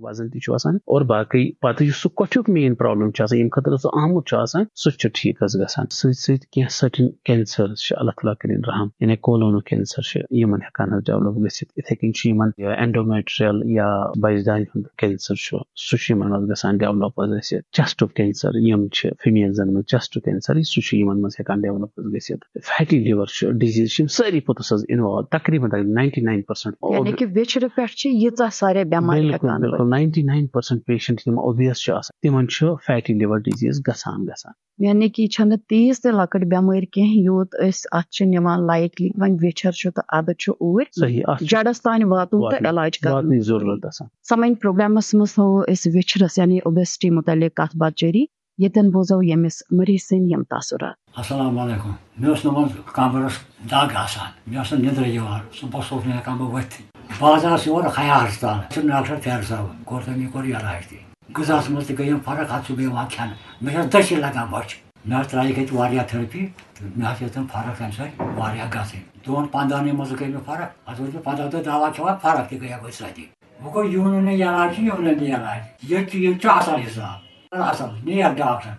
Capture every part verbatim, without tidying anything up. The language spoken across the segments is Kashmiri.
وزن تہِ چھُ آسان اور باقٕے پتہٕ یُس سُہ کۄٹھیُک مین پرابلم چھُ آسان، ییٚمہِ خٲطرٕ سُہ آمُت چھُ آسان، سُہ تہِ چھُ ٹھیٖک حظ گژھان۔ سۭتۍ سۭتۍ کینٛہہ سرٹن کینسرز چھِ، اللہ تعالیٰ کٔرِن رحم، یعنی کولونو کینسر چھُ، یِمن ہٮ۪کان حظ ڈیولپ گٔژھِتھ۔ یِتھے کٔنۍ چھُ یِمن یا اینڈومیٹریل یا بچدانہِ ہُنٛد کینسر چھُ، سُہ چھُ یِمن حظ گژھان ڈیولپ حظ گٔژھِتھ۔ چیسٹُک کینسر یِم چھِ فیمیلزن منٛز، چیسٹُک کینسر سُہ چھُ یِمن منٛز ہٮ۪کان ڈیولپ حظ گٔژھِتھ۔ فیٹی لِور چھُ ڈِزیٖز، چھِ یِم سٲری پوٚتُس حظ انوالو، تقریباً تقریباً ناینٹی ناین پرسنٹ۔ یعنی کہِ ویچھرٕ پٮ۪ٹھ چھِ ییٖژاہ سارے بٮ۪مارِ بِلکُل، ہٮ۪کان بِلکُل۔ ؤتھِتھ۔ ناینٹی ناین پرسنٹ پیشنٹ یِم اوبیس چھِ آسان، تِمن چھُ فیٹی لِور ڈِزیٖز گژھان، گژھان۔ یعنی کہِ یہِ چھَنہٕ تیٖژ تہِ لۄکٕٹ بٮ۪مٲرۍ کینٛہہ، یوٗت أسۍ اَتھ چھِ نِوان لایٹلی۔ وۄنۍ ویچھر چھُ تہٕ اَدٕ چھُ اوٗرۍ صحیح، اَتھ چھُ جڑس تانۍ واتُن تہٕ واتنٕچ، علاج کرُن۔ واتنٕچ ضروٗرت آسان۔ سمجھن پروگرامس منٛز تھوو أسۍ ویچھرس یعنی اوبیسٹی متعلق کتھ باتھ جٲری۔ ییٚتٮ۪ن بوزو ییٚمِس مریض سٕنٛدۍ یِم تاثرات۔ السلام علیکم۔ مےٚ اوس نہٕ وۄنۍ کمرس دگ آسان، مےٚ ٲس نہٕ نِندرٕے یِوان، صُبحس اوس نہٕ ہٮ۪کان بہٕ ؤتھِتھٕے۔ بہٕ حظ آس یور حیا ہسپتال، چھُ ڈاکٹر طاہر صٲب، کوٚر تٔمۍ، یہِ کوٚر علاج تہِ۔ غذاہَس منٛز تہِ گٔے یِم فرق، اَتھ چھُ بیٚیہِ یِوان کھٮ۪نہٕ۔ مےٚ چھَس دٔچھِنۍ لَگان بۄچھِ۔ مےٚ حظ ترٛایہِ کَتہِ واریاہ تھرپی تہٕ مےٚ حظ ہیٚژ نہٕ فرق اَمہِ سۭتۍ واریاہ گژھٕنۍ۔ دۄن پنٛدہَنٕے منٛز گٔے مےٚ فرق۔ اَتھ اوس مےٚ پنٛداہ دۄہ دَوا کھٮ۪وان، فرق تہِ گٔیَکھ أتھۍ سۭتی۔ وۄنۍ گوٚو یوٗنٲنی علاج چھُ یوٗنٲنی علاج۔ ییٚتہِ چھُ، ییٚتہِ چھُ اَصٕل حِساب، اَصٕل، نیک ڈاکٹر۔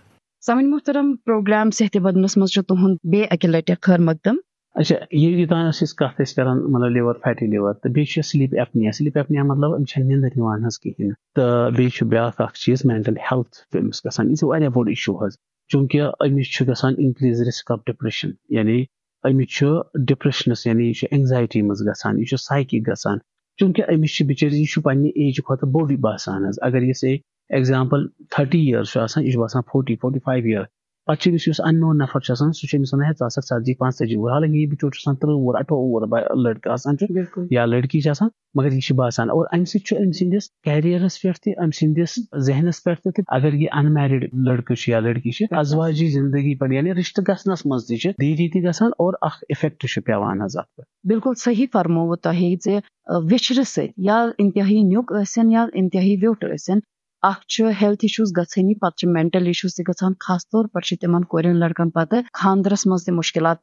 سمن محترم، پروگرام صحت بدنس منٛز چھُ تُہُنٛد بیٚیہِ اَکہِ لٹہِ خٲر مقدم۔ اچھا، یہِ یوٚتام أسۍ أسۍ کتھ ٲسۍ کران، مطلب، لِور، فیٹی لِور، تہٕ بیٚیہِ چھِ سلیپ ایپنیا۔ سلیپ ایپنیا مطلب، أمِس چھَنہٕ نِندٕر یِوان حظ کِہیٖنۍ نہٕ۔ تہٕ بیٚیہِ چھُ بیٛاکھ اکھ چیٖز، مینٹل ہیلتھ چھُ أمِس گژھان، یہِ چھُ واریاہ بوٚڑ اِشوٗ حظ، چوٗنٛکہِ أمِس چھُ گژھان increase risk of depression، یعنی أمِس چھُ ڈپریشنس، یعنی یہِ چھُ اینگزایٹی منٛز گژھان، یہِ چھُ سایکِک گژھان، چوٗنٛکہِ أمِس چھُ بِچٲرِس، یہِ چھُ پننہِ ایجہِ کھۄتہٕ بوٚڑُے باسان حظ۔ اگر یہِ سے ایگزامپل تھرٹی یِیٲرٕس چھُ آسان، یہِ چھُ باسان فورٹی، فورٹی فایو یِیٲرٕس۔ پتہٕ چھُ أمِس یُس اننون نفر چھُ آسان، سُہ چھُ أمِس ونان، "ہے، ژٕ ہسا ژتجی، پانٛژتٲجی وُہُر"، حالانکہِ یہِ بِچور چھُ آسان ترٕٛہ وُہُر، اَٹھووُہ وُہُر با-، لڑکہٕ آسان چھُ، بِلکُل۔ یا لڑکی چھِ آسان، مگر یہِ چھُ باسان۔ اور امہِ سۭتۍ چھُ أمۍ سٕنٛدِس کیریئرس پٮ۪ٹھ تہِ، أمۍ سٕنٛدِس ذہنس پٮ۪ٹھ تہِ، تہٕ اگر یہِ انمیرڈ لڑکہٕ چھُ یا لڑکی چھِ، ازواجی زندگی پٮ۪ٹھ، یعنی رشتہٕ گژھنس منٛز تہِ چھِ دیٖری تہِ گژھان اور اکھ افیکٹ چھُ پٮ۪وان حظ اتھ پٮ۪ٹھ۔ بِلکُل صحیح فرمووُ تۄہہِ زِ، ٲ، ویچھرٕ سۭتۍ یا انتہٲیی نیُک ٲسِن یا انتہٲیی ویوٚٹھ ٲسِن، اکھ چھُ ہیلتھ اِشوٗز گژھٲنی، پتہٕ چھِ مینٹل اِشوٗز تہِ گژھان۔ خاص طور پر چھِ تِمن کورٮ۪ن لڑکن پتہٕ خاندرس منٛز تہِ مُشکلات